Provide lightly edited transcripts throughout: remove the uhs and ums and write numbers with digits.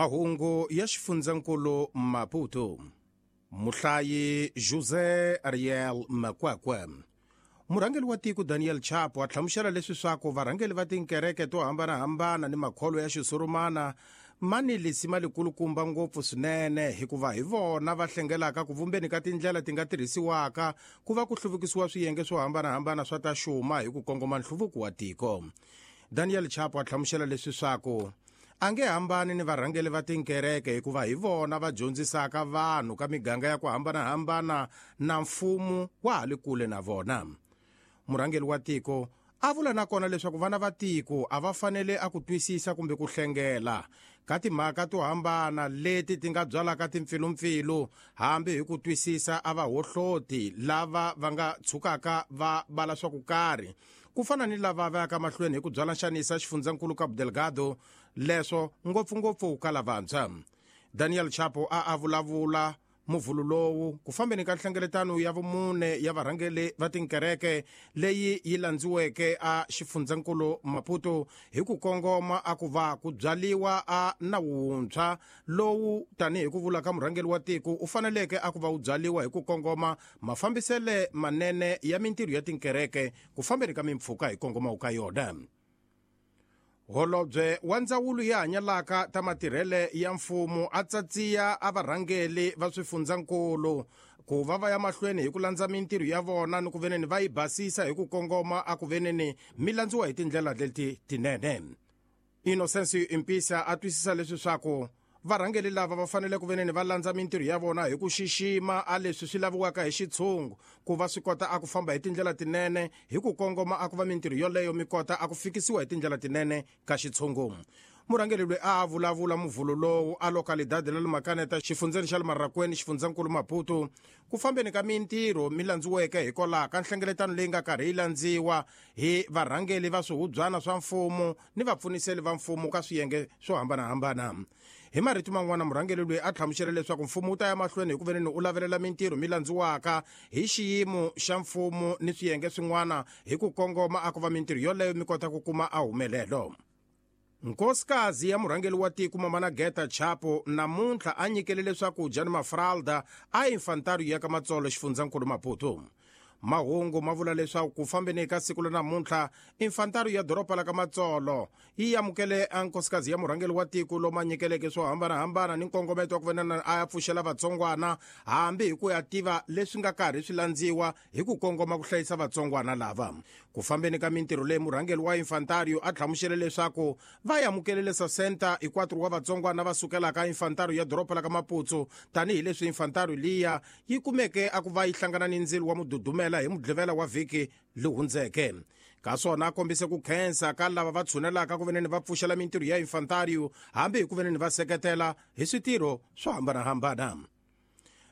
Mahungu ya xifundzankulu Maputo. Muhlayi José Ariel Makwakwa. Murhangeri wa tiko Daniel Chapo a hlamusela leswi swaku varhangeri va tinkereke to hambanahambana ni makholo ya xisurumana ma ni lisima likulukumba ngopfu swinene hikuva hi vona va hlengelaka ku vumbeni ka tindlela ti nga tirhisiwaka ku va ku hluvukisiwa swiyenge swo hambanahambana swa ta xuma hi ku kongoma nhluvuko wa tiko. Daniel Chapo a hlamusela leswi swaku a nge hambani ni varhangeri va tinkereke hikuva hi vona va dyondzisaka vanhu ka miganga ya ku hambanahambana na mfumo wa ha le kule na vona. Murhangeri wa tiko a vula nakona leswaku vana va tiko a va fanele a ku twisisa kumbe ku hlengela ka timhaka to hambana leti ti nga byalaka timpfilumpfilu hambi hi ku twisisa a va hohloti lava va nga tshukaka va vala swa ku karhi ku fana ni lava va yaka mahlweni hi ku byala nxanisa xifundzankulu Cabo Delgado leswo ngopfungopfu ka lavantshwa. Daniel Chapo a a vulavula muvhulu lowu ku fambeni ka nhlengeletano ya vumune ya varhangeri va tinkereke leyi yi landziweke a xifundzankulu Maputo hi ku kongoma a ku va ku byaliwa a nawu wuntshwa lowu tanihi ku vula ka murhangeri wa tiko u faneleke a ku va wu byaliwa hi ku kongoma mafambisele manene ya mintirho ya tinkereke ku fambeni ka mimpfhuka hi kongoma ka yona. Holobye wa ndzawulo ya hanyalaka ta matirhele ya mfumo a tsatsiya a varhangeli va swifundzankulu ku va va ya mahlweni hi ku landza mintirho ya vona ni ku veneni va yi basisa hi ku kongoma a ku veneni mi landziwa hi tindlela leti tinene. Innocence Impisa a twisisa leswi swaku varhangeli lava va fanele ku veneni va landza mintirho ya vona hi ku xixima a leswi swi laviwaka hi xitshungu ku va swi kota a ku famba hi tindlela tinene hi ku kongoma a ku va mintirho yoleyo mi kota a ku fikisiwa hi tindlela tinene ka xitshungu. Murhangeri loyi a vulavula muvhulo lowu a localidade la le Makaneta xifundzeni xa le Marrakweni xifundzankulu Maputo ku fambeni ka mintirho mi landziweke hikwalaho ka nhlengeletano leyi nga karhi yi landziwa hi varhangeli va swihubyana swa mfumo ni vapfuniseli va mfumo ka swiyenge swo hambanahambana. Hi marito man'wana murhangeri loyi a hlamusela leswaku mfumo wu ta ya mahlweni hi ku veneni u lavelela mintirho mi landziwaka hi xiyimo xa mfumo ni swiyenge swin'wana hi ku kongoma a ku va mintirho yoleyo mi kota ku kuma a humelelo. Nkosikazi ya murhangeri wa tiko Mamana Geta Chapo namuntlha a nyikelele swakudya ni mafralda a infantari ya ka Matsolo xifundzankulu Maputo. Mahungu ma vula leswaku ku fambeni ka siku la namuntlha infantari ya doroba la ka Matsolo yi amukele a nkosikazi ya murhangeri wa tiko lomu a nyikeleke swo hambanahambana ni nkongometo wa ku venana a ya pfuxela vatsongwana hambi hi ku ya tiva leswi nga karhi swi landziwa hi ku kongoma ku hlayisa vatsongwana lava. Ku fambeni ka mintirho leyi murhangeri wa infantario a hlamusele leswaku va amukelele 60 hi 4 wa vatsongwana va sukelaka infantario ya doroba la ka Maputo tanihileswi infantario liya yi kumeke a ku va yi hlangana ni ndzilo wa mududumela hi mudlivela wa vhiki lowu hundzeke. Ka swona a kombise ku khensa ka lava va tshunelaka ku veneni va pfuxela mintirho ya infantario hambi hi ku veneni va seketela hi switirho swo hambanahambana.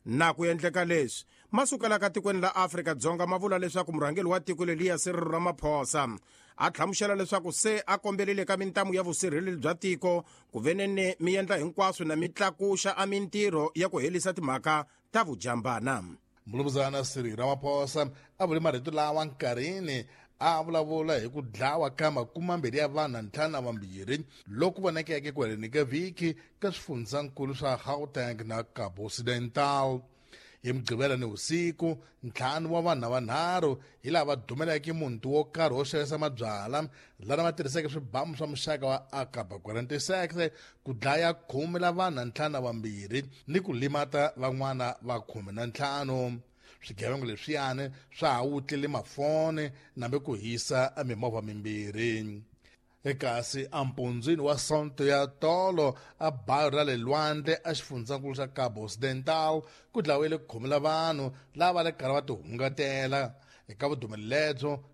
Na ku endleka leswi masukelaka tikweni la Afrika-Dzonga ma vula leswaku murhangeri wa tiko leliya Cyril Ramaphosa a hlamusela leswaku se a kombelile ka mintamu ya vusirheleri bya tiko ku veneni mi endla hinkwaswo na mi tlakuxa a mintirho ya ku herisa timhaka ta vujambana. Mulumuzana Cyril Ramaphosa a vule marito lawa nkarhini a vulavula hi ku dlawa ka 22 ya vanhu na 52 loku vonekeke ku heleni ka vhiki ka swifundzankulu swa Gauteng na Cabo Occidental. Hi Mugqivela ni vusiku 5 wa vanhu na 3 hi lava dumeleke muti wo karhi wo xavisa mabyala lana va tirhiseke swibamu swa muxaka wa AK-46 ku dlaya 10 la vanhu na 52 ni ku limata van'wana va 15. Swigevenga leswiyani swa ha wutlile mafoni nambe ku hisa mimovha mimbirhi. Ekasi ampundzwini wa Sonto ya tolo a bayo ra le lwandle a xifundzankulu xa Cabo Occidental ku dlawile 10 la vanhu lava le karhi va tihungatela. Eka vudumeli lebyo